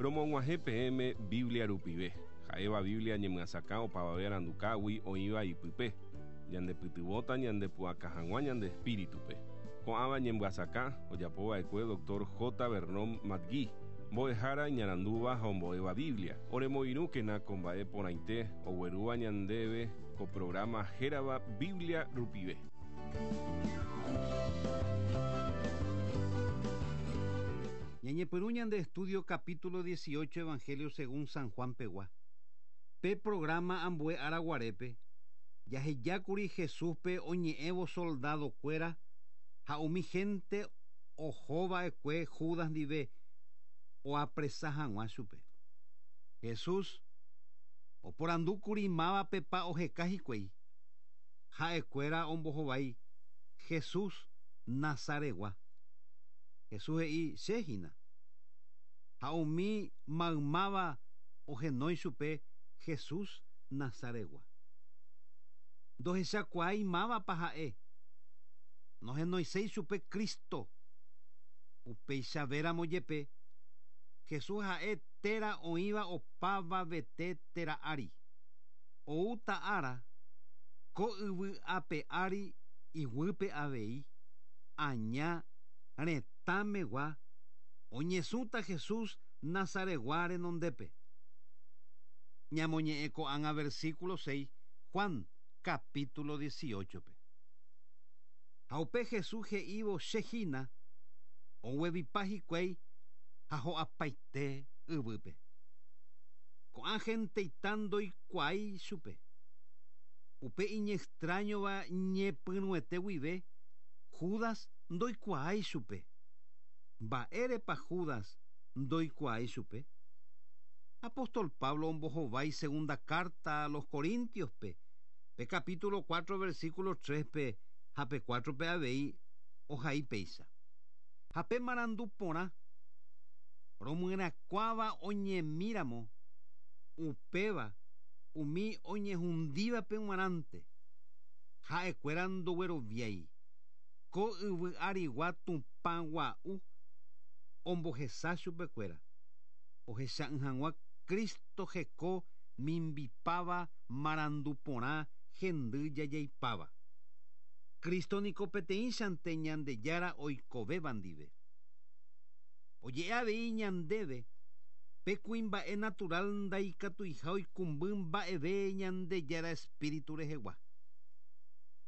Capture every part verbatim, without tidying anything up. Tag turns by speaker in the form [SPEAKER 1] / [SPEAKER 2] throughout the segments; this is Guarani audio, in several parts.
[SPEAKER 1] Romog̃uahẽ peẽme Biblia rupive. Ha'éva Biblia ñemyasakã opavave arandukágui oĩva ipype. Ñandepytyvõta ñandepu'aka hag̃ua ñande espíritupe. Ko'ãva ñemyasakã ojapova'ekue doctor J. Vernon McGee. Mbo'ehára iñarandúva ha ombo'éva Biblia. Oremoirũkena ko mba'e porãite oguerúva ñandéve ko programa hérava Biblia rupive.
[SPEAKER 2] Ñañepyrũ ñande estudio capítulo dieciocho Evangelio según San Juan pegua. Pe programa ambue araguarépe jahejákuri Jesúspe oñe'ẽvo soldadokuéra ha umi gente ohova'ekue Judas ndive oapresa hag̃ua chupe. Jesús oporandúkuri mávapepa oheka hikuái. Ha'ekuéra ombohovái Jesús Nazaregua. Jesús he'i che hína. Ha umi maymáva ohenói chupe Jesús Nazaregua. Ndohechakuaái mávapa ha'e. Nohenoiséi chupe Cristo. Upeichavéramo jepe Jesús ha'e téra oĩva opavavete téra ári. Oúta ára ko yvy ape ári iguýpe avei aña retãmegua oñesũta Jesús Nazaregua renondépe. Ñamoñe'ẽ ko'ág̃a versículo seis Juan capítulo dieciocho-pe. Ha upe Jesús he'ívo che hína oguevipa hikuái ha ho'apaite yvýpe. Ko'ã genteita ndoikuaái chupe. Upe iñextrañova ñepyrũete guive Judas ndoikuaái chupe. Mba'érepa Judas ndoikuaái chupe? Apóstol Pablo ombohovái segunda carta a los Corintios-pe, pe capítulo cuatro versículo tres-pe ha pe cuatro-pe avei ohai péicha. Ha pe marandu porã romyrakuáva oñemíramo upéva umi oñehundívape g̃uarãnte. Ha'ekuéra ndogueroviái. Ko yvy arigua Tupã gua'u ombohesa chupekuéra. Ohecha'ỹ hag̃ua Cristo heko mimbipáva marandu porã hendy jajaipáva. Cristo niko peteĩchante Ñandejára oikovéva ndive. Oje'e avei ñandéve pe kuimba'e natural ndaikatuiha oikũmby mba'eve Ñandejára espíritu rehegua.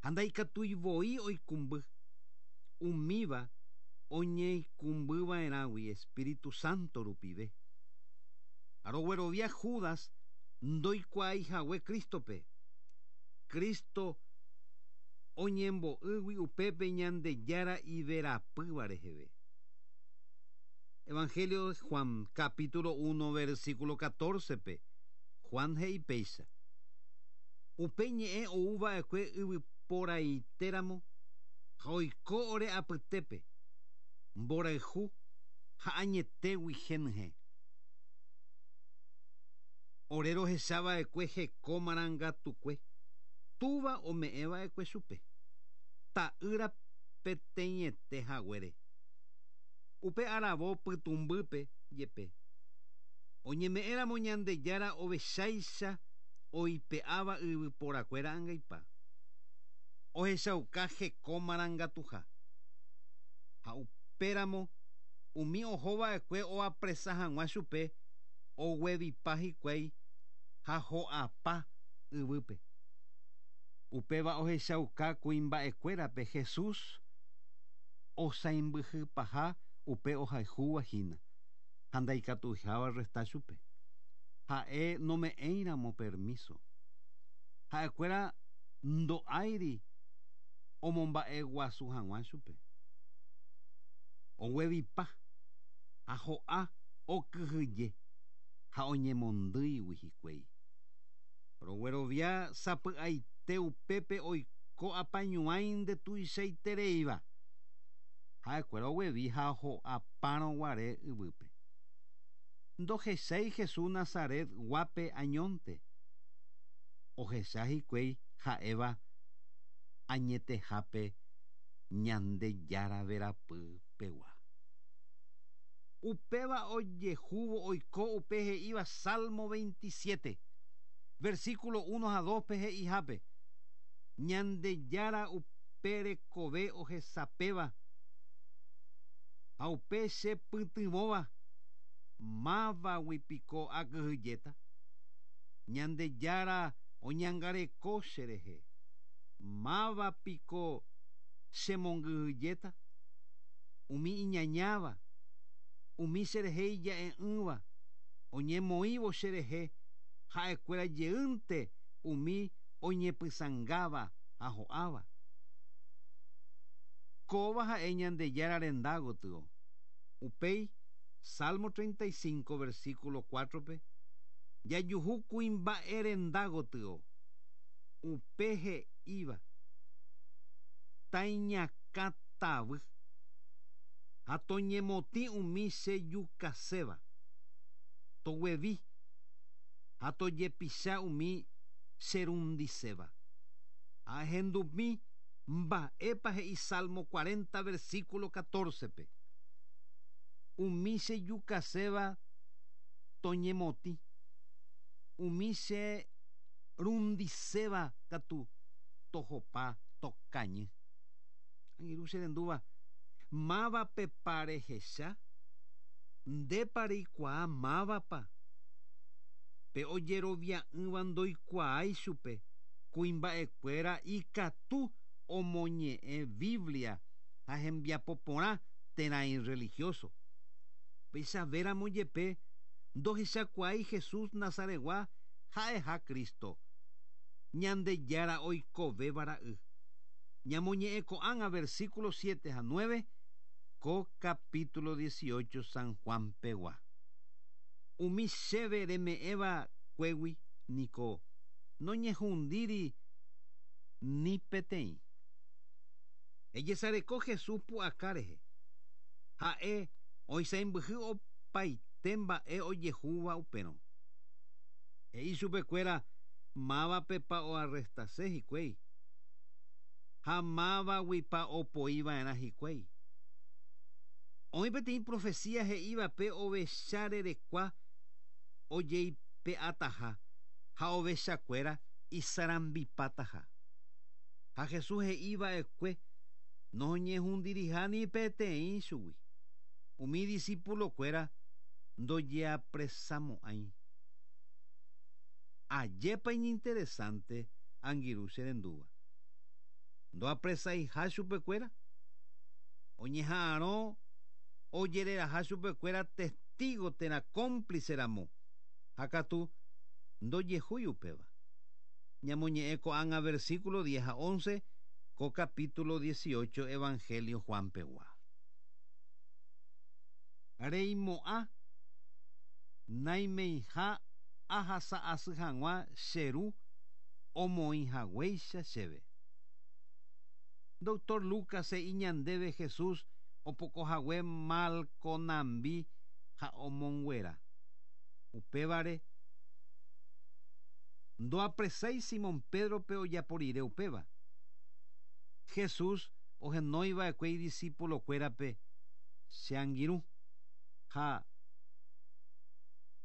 [SPEAKER 2] Ha ndaikatuivoi oikũmby. Umíva oñeikũmbyva'erãgui Espíritu Santo rupive. Aroguerovia Judas ndoikuaaihague Cristo-pe. Cristo oñembo'ýgui upépe Ñandejára iverapýva reheve. Evangelio de Juan, capítulo uno, versículo catorce-pe. Juan he'i péicha. Upe ñe'ẽ ouva'ekue yvyporaitéramo ha oiko ore apytépe mborayhu ha añetégui henyhẽ. Ore rohechava'ekue heko marangatukue túva ome'ẽva'ekue chupe. Ta'ýra peteĩete haguére. Upe aravo pytũmbýpe jepe. Oñeme'ẽramo Ñandejára ovecháicha oipe'áva yvyporakuéra angaipa. Ohechauka heko marangatuha. Ha upéramo umi ohova'ekue oapresa hag̃ua chupe oguevipa hikuái ha ho'apa yvýpe. Upéva ohechauka kuimba'ekuérape Jesús osaimbyhypaha upe ohayhúva hína ha ndaikatuiháva resta chupe. Ha'e nome'ẽiramo permiso. Ha'ekuéra ndo'áiri omomba'eguasu hag̃ua chupe. Oguevipa ha ho'a okyhyje ha oñemondýigui hikuái. Roguerovia sapy'aite upépe oiko apañuãi ndetuichaitereíva. Ha'ekuéra oguevi ha ho'apárõ guare yvýpe. Ndohechái Jesús Nazaret guápe añónte. Ohecha hikuái ha'éva añetehápe Ñandejára verapy pegua. Upéva ojehúvo oiko upe he'íva Salmo veintisiete, versículo uno ha dos-pe he'ihápe. Ñandejára upe rekove ohesapéva ha upe chepytyvõva mávagui piko akyhyjéta. Ñandejára oñangareko cherehe máva piko chemongyhyjéta. Umi iñañáva umi cherehe ija'e'ỹva oñemoĩvo cherehe ha'ekuéra jeýnte umi oñepysãngáva ha ho'áva. Kóva ha'e Ñandejára renda gotyo. Upéi Salmo treinta y cinco versículo cuatro-pe jajuhu kuimba'e renda gotyo. Upe he'íva taiñakãtavy ha toñemotĩ umi chejukaséva toguevi ha tojepicha umi cherundiséva. Ahendumi mba'épa he'i Salmo cuarenta versículo catorce-pe. Umi chejukaséva toñemotĩ umi cherundiséva katu tohopa tokañy. Angirũ cherendúva mávapepa rehecha ndépa reikuaa mávapa pe ojerovia'ỹva ndoikuaái chupe kuimba'ekuéra ikatu omoñe'ẽ Biblia ha hembiapo porã térã irreligioso. Péichavéramo jepe ndohechakuaái Jesús Nazaretgua ha'eha Cristo Ñandejára oikovéva ra'y. Ñamoñe'ẽ ko'ág̃a versículo siete ha nueve ko capítulo dieciocho San Juan pegua. Umi chéve reme'ẽva kuégui niko noñehundíri ni peteĩ. Ejesareko Jesús pu'aka rehe. Ha'e oisãmbyhy opaite mba'e ojehúva upérõ. He'i chupekuéra mávapepa oarrestase hikuái ha mávaguipa opoiva'erã hikuái. Oĩ peteĩ profecía he'ívape ovecha rerekua ojeipe'ataha ha ovechakuéra isarambipataha. Ha Jesús he'iva'ekue noñehundiriha ni peteĩ chugui. Umi discípulokuéra ndojeapresamo'ãi. Ajépa iñinteresante angirũ cherendúva. Ndoapresaiha chupekuéra oñeha'arõ ojereraha chupekuéra testigo térã cómplice ramo ha katu ndojehúi upéva. Ñamoñe'ẽ ko'ág̃a versículo diez ha once ko capítulo dieciocho Evangelio Juan pegua. Reimo'ã naimeiha ahasa'asy hag̃ua cheru omoĩhaguéicha chéve. Doctor Lucas he'i ñandéve Jesús opokohague Malconambi ha omonguera. Upévare ndoapresái Simón Pedro-pe ojaporire upéva. Jesús ohenóiva'ekue idiscípulokuérape che angirũ ha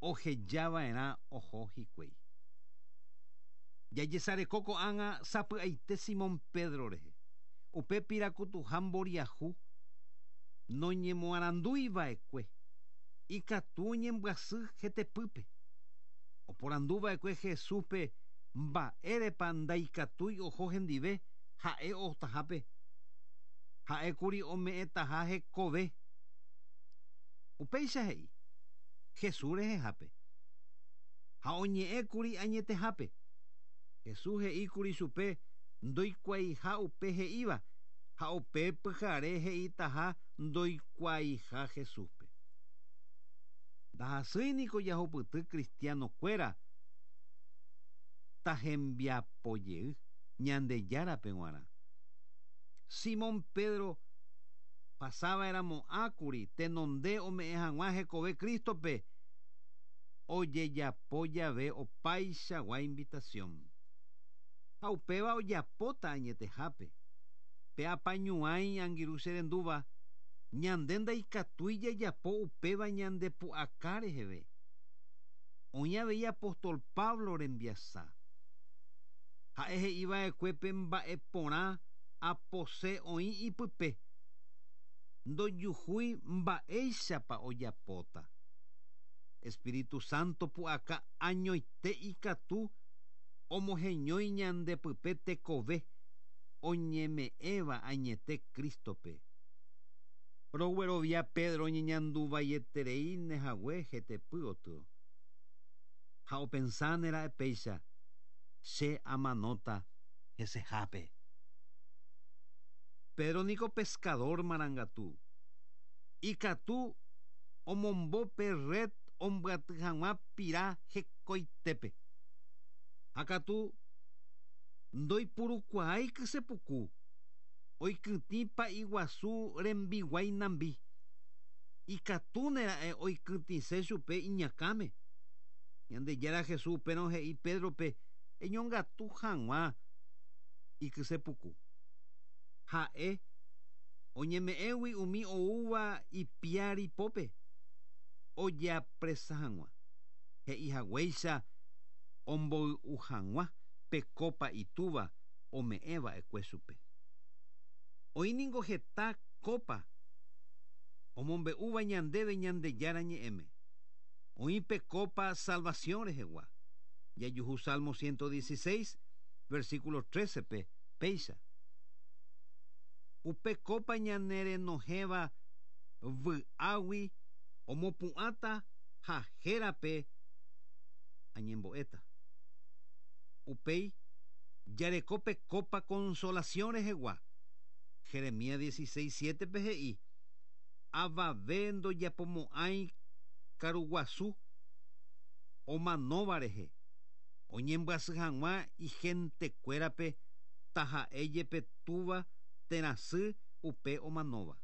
[SPEAKER 2] ohejava'erã oho hikuái. Jajesareko ko'ág̃a sapy'aite Simón Pedro rehe. Upe pirakutuha mboriahu noñemoaranduiva'ekue ikatu oñembyasy hetepýpe. Oporanduva'ekue Jesúspe mba'érepa ndaikatúi oho hendive ha'e ohotahápe. Ha'ékuri ome'ẽtaha hekove. Upéicha he'i Jesús rehehápe ha oñe'ẽkuri añetehápe. Jesús he'íkuri chupe ndoikuaaiha upe he'íva ha upe pyhare he'itaha ndoikuaaiha Jesúspe. Ndahasýi niko jahupyty cristianokuéra tahembiapojey Ñandejárape g̃uarã. Simón Pedro pasava'erãmo'ãkuri tenonde ome'ẽ hag̃ua hekove Cristo-pe ojejapo jave opaichagua invitación. Ha upéva ojapóta añetehápe. Pe apañuãi angirũ cherendúva Ñande ndaikatúi jajapo upéva ñande pu'aka reheve. Oĩ avei apóstol Pablo rembiasa. Ha'e he'iva'ekuépe mba'e porã apose oĩ ipype. Ndojuhúi mba'éichapa ojapóta. Espíritu Santo pu'aka añoite ikatu omoheñói ñande pype tekove oñeme'ẽva añete Cristope. Roguerovia Pedro oñeñanduvaietereíne hague hetepy gotyo. Ha opensánera'e péicha che amanóta hesehápe. Pedro niko pescador marangatu. Ikatu omombope red ombyaty hag̃ua pira hekoitépe. Ha katu ndoipurukuaái kysepuku. Oikytĩ pa'i guasu rembiguái nambi. Ikatúnera'e oikytĩse chupe iñakãme. Ñandejára Jesús upérõ he'i Pedrope eñongatu hag̃ua ikysepuku. Ha'e oñeme'ẽgui umi oúva ipiári pópe ojeapresa hag̃ua. He'i haguéicha omboy'u hag̃ua pe copa itúva ome'ẽva'ekue chupe. Oĩ ningo heta copa omombe'úva ñandéve Ñandejára ñe'ẽme. Oĩ pe copa salvación rehegua. Jajuhu Salmo ciento dieciséis, versículo trece-pe péicha. Upe copa ñanerenohẽva vy'águi omopu'ãta ha hérape añembo'éta. Upéi jareko pe copa consolación rehegua. Jeremías dieciséis, siete-pe he'i avave ndojapomo'ãi karuguasu omanóva rehe. Oñembyasy hag̃ua igentekuérape taha'e jepe túva térã sy upe omanóva.